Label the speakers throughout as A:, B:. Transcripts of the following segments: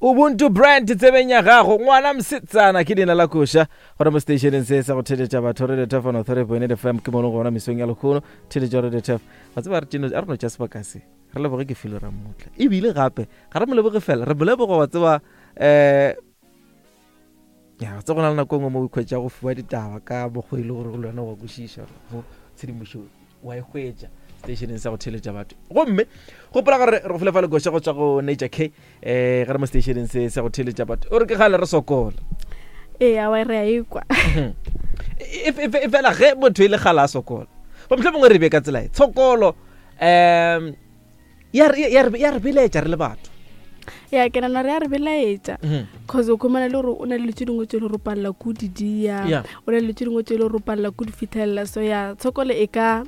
A: Ubuntu brand tsebeng ya gago ngwana mosetsana ke leina la koša gona mo stationeng se sa go theletša batho radio tef on 3.8 fm ke mono gona mesong ya lekgono theletša radio tef wa tseba re a re no tša sebaka se re leboge ke filo ra mmutla ebile gape ga re mo leboge fela re mo leboga wa tseba um ya tse go na le nako e nngwe mo o ikhwetša go fiwa ditaba ka mokgwa e le gore le wena wa kwešiša mo tshedimošo wa e hwetša stationeng sa go theletša batho gomme gopola gore re go file fa lekoša go tswa go nature k um ge re mo stationeng se sa go theletša batho o re ke gale re sokola
B: ee awa re a ekwa
A: e, e, e, e fela ge motho e le gale a sokola ba motlho mongwe re be ka tsela e tshokolo um ya re belaetša re le batho
B: ya ke nana re ya re belaetša mhm. cause o khumana le gore o na le tse dingwe tse le gore o palela ko di dia o na le tse dingwe tse le gore o palela ko di fitlhelela so ya tshokolo e ka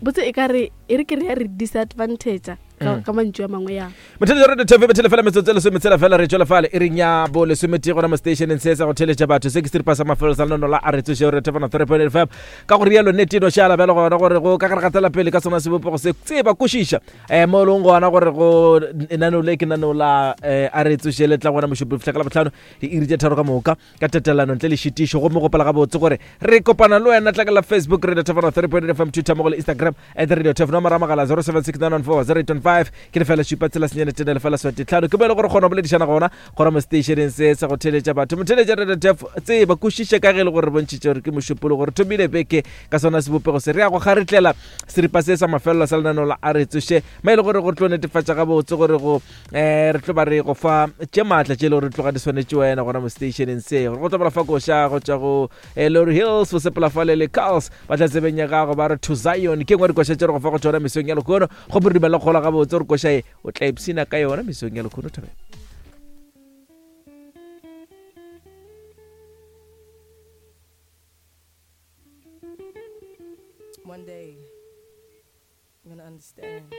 B: botse e ka re e re ke re ya re disadvantage ka mm. mantšu a mangwe ya
A: motheletša radio tv bethele fela metsotso e lesometshela fela re tšwela fale e reng ya bo lesometee gona mo stationeng se sa go theletša batho se ke seripa sa mafelo sa lenono la a re tsošeo re thefana 3.5 ka go rialo nnete e no šala bjalo gona gore go ka gare gatela pele ka sona sebopego se tseba kwešiša um mo e leng gona gore go lenaneo le ke lenaneo la um a re tsoše le tla gona mošupo fihla ka labohlano diiri tše tharo ka moka ka tatelano ntle le šitišo gomme gopela gabotse gore re kopana le wena tla ka la facebook radio tefano 3.8 fm twitter mo go le instagram at radio tef nomoro ya mogala 076914 ke lefela šupa tshela senyane tene lefela swate tlhano ke mo e le gore kgona go boledišana gona gona mo stationeng se sa go theletša batho motheletša radio tef tseba kwešiše ka ge e le gore re bontšhitše gore ke mošupolo gore thomile beke ka sona sebopego se re ya go garetlela seripa se sa mafelelo sa lenaneo la a re tsoše ma e le gore go tlo netefatša gabotse gore go um re tlo ba re go fa tše maatla tše e le gore tloga di swanetše wena gona mo stationeng se gore go tlo bala fa koša go tšwa go eh, Lori Hills go sepela fale le Carls ba tla tsebeng ya gago ba re to Zion ke ngwe dikoša tše re go fa go tšona mesong ya lehono go re dumela gola gabotse gore koša e o tla ipshina ka yona mesong ya lehono thabela
C: One day, I'm gonna understand.